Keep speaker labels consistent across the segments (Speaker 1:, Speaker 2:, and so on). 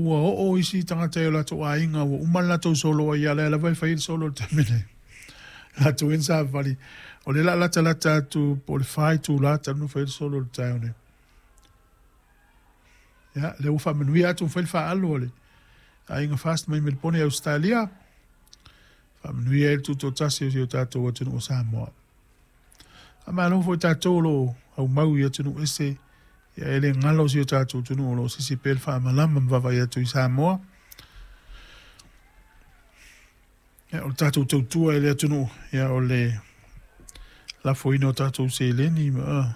Speaker 1: ua oo isi tagata i o latou aiga ua uma le latou solo ai, a o lea lava e fai ai le solo i le taimi nei. Latou ai na savali. O lea o le a latalata atu po o le 4 itula talu ona fai le solo i le taeao nei. Ia, lea ua faamanuia atu ma fai le faaalu a le aiga FAST mai Melipone i Ausetalia. Faamanuia ai le tutoatasi o si o tatou atunuu o Samoa. Faamalo foi tatou o lo o aumau i atunuu ese, ia e le galo si o tatou atunuu o lo o sisi pea le faamalama ma vaavaai atu i Samoa. Ia, o le tatou tautua i le atunuu, ia o le lafoina o tatou seleni ma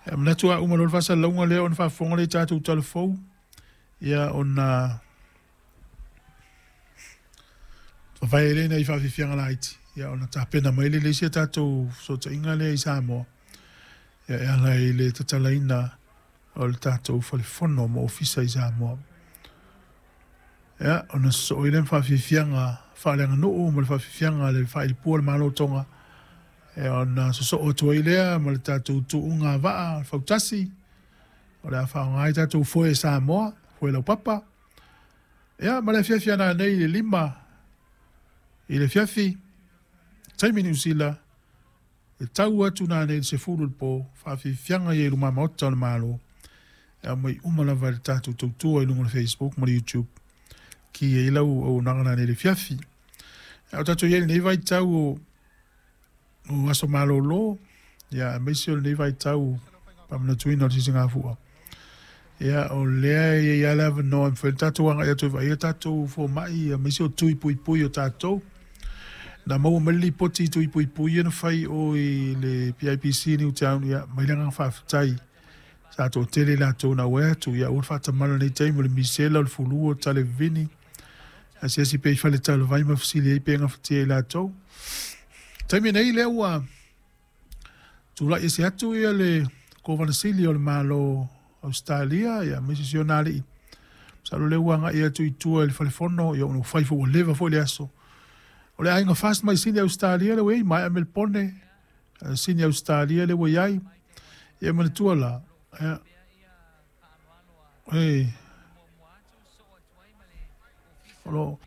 Speaker 1: ia manatu a uma loa le faasalalauga lea ona faafofoga lea i tatou tala fou, ia ona vavae lea nai faafiafiaga laiti, ia ona tapena mai lea i le isi a tatou fesootaiga lea i Samoa, ia e ala i le tatalaina o le tatou falefono ma ofisa i Samoa. Ia, ona sosoo ai lea ma faafiafiaga faaleaganuu ma le faafiafiaga a le faailipua o le Malo o Toga, ia ona sosoo atu ai lea ma le tatou tuuga vaa fautasi, o le a faaaoga ai tatou foe Samoa, foe laupapa. Ia, ma le afiafi a nanei i le 5 i le afiafi, taimi Niu Sila, e tau atu nanei i le 10 i le po, faafiafiaga ia i luma maota o le Malo, e aumai uma lava i le tatou tautua i luga o le Facebook ma le YouTube, ki ai lau auaunaga nanei i le afiafi. A o tatou i ai i lenei vaitau o aso malolo, ia, aemaise o lenei vaitau faamanatuina o le sisigafua. Ia, o lea e i ai lava le avanoa e mafai ona tatou agai atu e vaaia tatou fomai, aemaise o tui puipui o tatou. Na maua mai le lipoti i tui puipui ia na fai o i le PIPC i Newtown, ia, mai le agaga faafetai. Sa toatele i latou na auai atu, ia aua le faatamala i lenei taimi, o le misela, o le fulu, o le talevini, asiasi pea i faletalavai ma fesili ai pe gafatia i latou. Taimi nei lea ua tulai ese atu ia le Kovana Sili o le Malo Ausetalia, ia aemaise si ona alii. Masalo lea ua agai atu i tua i le falefono, ia ona ua fai foi ua leva foi le aso. O le aiga FAST mai Sini Ausetalia lea ua i ai, maea Melipone, Sini Ausetalia lea ua i ai. Ia manatua la, ia, e, o lo,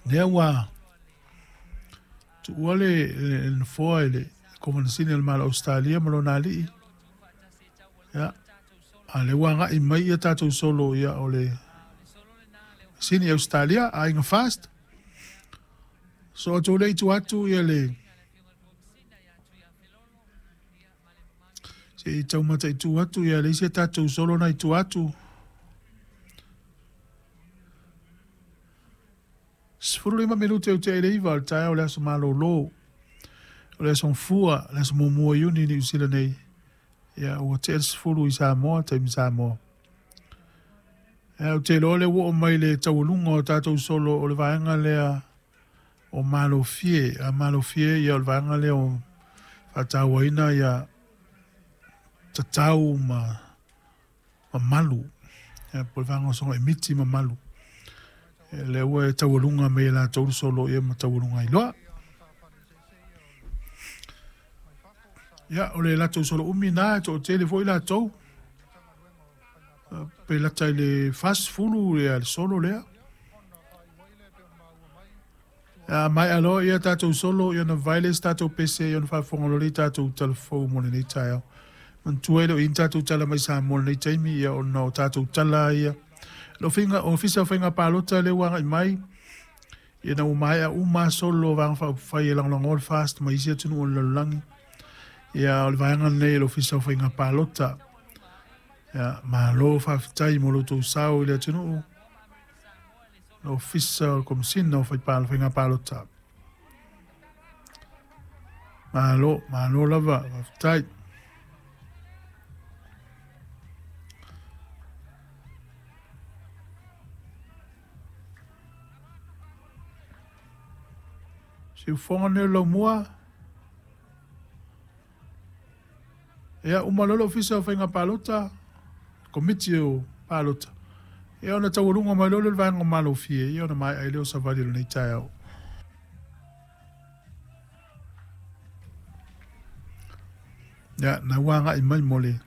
Speaker 1: lea ua tuua le nofoa i le Kovana Sili o le Malo o Ausetalia ma lona alii. Ia, a lea ua agai mai ia tatou solo, ia o le Sini Ausetalia, aiga FAST. So atu le itu atu ia le se i taumata i tu atu ia le isi a tatou solo na i tu atu. 15 minute o te le iva o le taeao o le aso malolo. O le aso Gafua, le aso 1 o Iuni i Niu Sila nei. Ia, ua tea le 10 i Samoa, taimi Samoa. Ia, ou te iloa lea ua oo mai le taualuga o tatou solo o le vaega lea o Malofie. A Malofie, ia o le vaega lea o faatauaina ia tatau ma mamalu. Ia, po o le vaega o soga miti mamalu. Ia, lea ua e taualuga mai e latou le solo ia ma taualuga ai loa. Ia, o le latou solo umi na, e toatele foi latou. Pe lata i le 40 ia le solo lea. Ia, mai aloa ia tatou solo, ia na vae le isi tatou pese, ia na faafofoga loa le tatou talafou mo lenei taeao. Manatua e le o i ai ni tatou tala mai Samoa i lenei taimi, ia ona o tatou tala ia. Le Ofisa o Faiga Palota lea ua agai mai, ia na ua maea uma solo o Vaega Faaupufai e lagolagoa le FAST ma isi atunuu o le lalolagi. Ia, o le vaega lenei o le Ofisa o Faiga Palota. Ia, malo faafetai mo lo outou sao i le atunuu. Le Ofisa o le Komesina o Faiga Palota. Malo, malo lava, faafetai. Siufofoga nei o le laumua. Ia, uma loa le Ofisa o Faiga Palota, Komiti o Palota, ia ona taualuga mai loa lea o le vaega o Malofie, ia ona maea ai lea o savali o lenei taeao. Ia, na ua agai mai mo le